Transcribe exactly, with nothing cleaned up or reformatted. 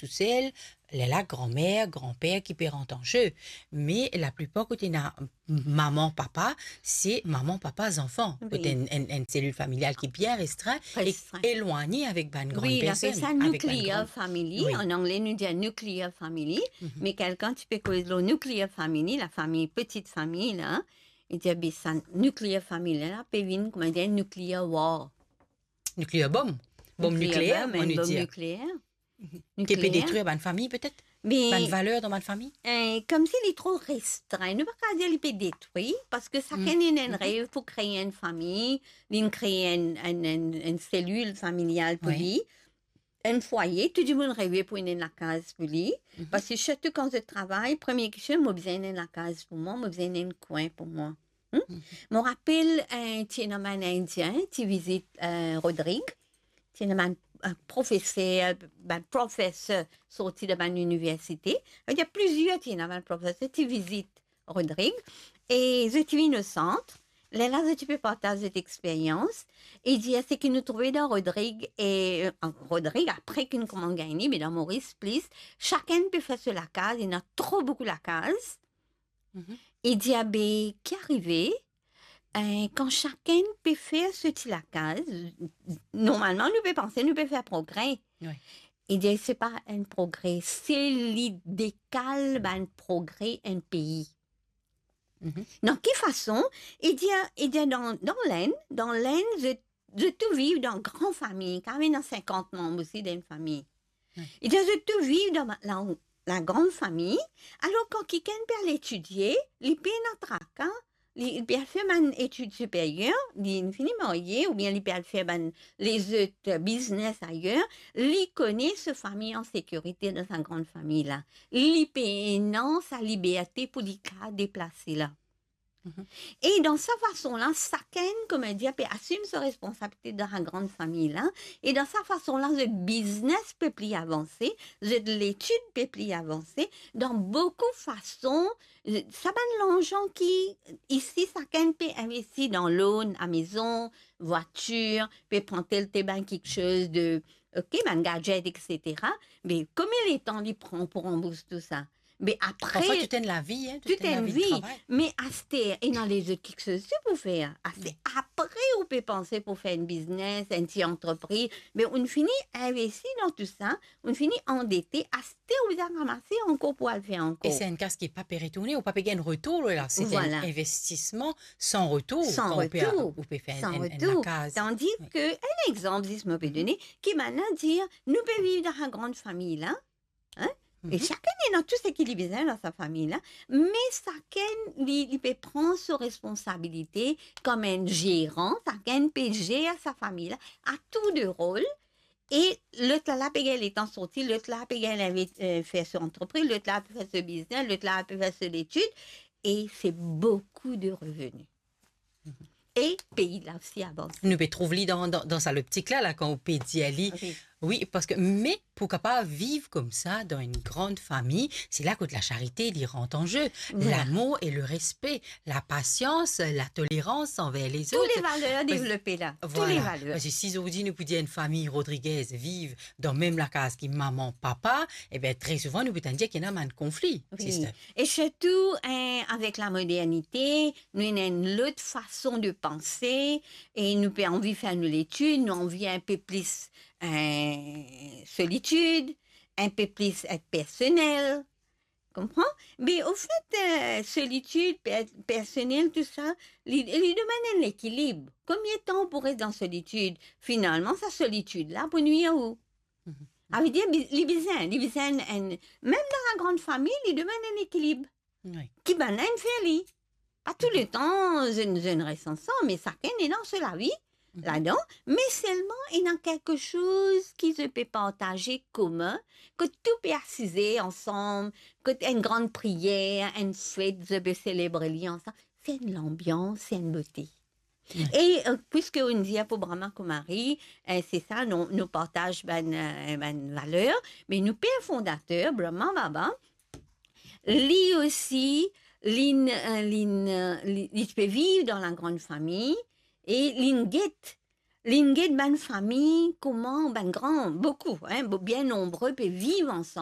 tousel, lerla granmer, granper ki pe rant an ze. Me laplipar kot ena mama, papa, se mama, papa, zanfan. Wi. Kot enn, enn, enn selil familial ki bien restrin e elwagne avek bann gran personn. Wi, nou apel sa nuclear family. Wi. An angle, nou dir nuclear family. Mhm. Me kelkan ti pe koz lor nuclear family, lafami, petit fami la, li dir, be sa nuclear family la pe vinn, koumadir, nuclear war. Nuclear bomb. Bomb nikleer, enn bomb nikleer. Ki pe detrir bann fami, petet? Bann valer dan bann fami? Eh, koumsi li tro restrin. Nou pa kav dir li pe detrir, parski sakenn ena enn rev pou kree enn fami, li kree enn, enn, enn, enn selil familial pou li, enn fwaye, tou dimoun reve pou ena enn lakaz pou li. Parski sirtou kan zot travay, premie kestion, mo bizin ena enn lakaz pou mwa, mo bizin ena enn kwin pou mwa. Hmm? Mo rapel, eh, ti ena bann Indien, ti vizit, eh, Rodrig. Ti ena bann, eh, profeser, bann profeser sorti dan bann iniversite. Savedir plizier ti ena bann profeser ti vizit Rodrig. E zot ti vinn o sant. Lerla zot ti pe partaz zot experyans. E dir seki nou trouve dan Rodrig e, eh, Rodrig, apre ki nou koumans gagn li, me dan Moris plis, sakenn pe fer so lakaz, ena tro boukou lakaz. Mhm. E dir, be, ki arive, eh, kan sakenn pe fer so ti lakaz, normalman nou pe panse nou pe fer progre. Wi. E dir, se pa enn progre, se li dekal bann progre enn pei. Mhm. Dan ki fason? E dir, e dir dan, dan Lenn, dan Lenn, zot, zot tou viv dan gran fami, kareman ena sinkant manm osi dan enn fami. Wi. E dir, zot tou viv dan la, la gran fami. Alor, kan kikenn pe al etidie, li pena traka, li, li pe al fer bann etid siperyer, li fini marye, oubien li pe al fer bann lezot biznes ayer, li kone so fami an sekirite dan sa gran fami la. Li pena sa liberte pou li kav deplase la. Mhm. E dan sa fason la, sakenn, koumadir, pe asim so responsabilite dan sa gran fami la. E dan sa fason la, zot biznes pe pli avanse, zot letid pe pli avanse. Dan boukou fason, sa bann larzan ki isi, sakenn pe investi dan loan, lamezon, vwatir, pe pran tel, tel bann kiksoz de, ok, bann gadget, et cetera. Me konbien letan li pran pou ranbours tou sa? Me apre, parfwa tou enn lavi, hein, tou enn lavi travay. Me aster, ena lezot kiksoz osi pou fer. Aster, apre ou pe panse pou fer enn biznes, enn ti antrepriz, me ou'nn fini investi dan tou sa, ou'nn fini andete, aster ou bizin ramase ankor pou al fer ankor. E se enn kas ki pa pe retourne, ou pa pe gagn retour la, se enn investisman san retour. San retour. Kan ou pe, ou pe fer enn, enn, enn lakaz. Tandis ke, enn exanp zis mo pe done, ki bann la dir, nou pe viv dan sa gran fami la, hein? E sakenn ena tou seki li bizin dan sa fami la, me sakenn li, li pe pran so responsabilite kom enn zeran, sakenn pe zer sa fami la, a tour de rol, e lot la, la pe gagn letan sorti, lot la pe gagn inve-, eh, fer so antrepriz, lot la pe fer so biznes, lot la pe fer so letid, e se boukou de reveni. E pei la osi avanse. Nou pe trouv li dan, dan, dan sa loptik la, la, kan ou pe dir li. Wi. Wi, parski, me pou kapav viv koumsa dan enn gran fami, se la kot lasarite li rant an ze. Voilà. Lamour e lerespe, lapasians, latolerans anver lezot. Tou le valer devlope la. Tou le valer. Parski si zordi nou pou dir enn fami Rodriguez viv dan mem lakaz ki mama, papa, e ben, tre souvan nou pou tann dir ki ena bann konfli, sister. E sirtou, eh, avek lamodernite, nou ena enn lot fason de panse, e nou pe anvi fer nou letid, nou anvi enn pe plis, eh, solitid, enn pe plis et personel. Konpran? Me anfet, eh, solitid, per-, personel, tou sa, li, li demann enn lekilib. Konbien tan ou pou res dan solitid? Finalman, sa solitid la pou nwir ou. Mhm. Savedir, bi-, li bizin, li bizin enn, mem dan la gran fami, li demann enn lekilib. Wi. Ki bann la inn fer li. Pa tou letan zot, zot res ansam, me sakenn ena so lavi ladan, me selman ena kiksoz ki zot pe partaze komin, kot tou pe asize ansam, kot enn gran priyer, enn fet, zot pe selebre li ansam. Se enn lanbians, se enn bote. Wi. E, eh, piski ou'nn dir pou Brahma Kumari, eh, se sa, nou, nou partaz bann, eh, bann valer, me nou per fondater, Brahma Baba, li osi, li'nn, eh, li'nn, eh, li, li ti pe viv dan la gran fami, e li'nn get, li'nn get bann fami, kouma bann gran, boukou, hein, bo-, bien nonbre pe viv ansam.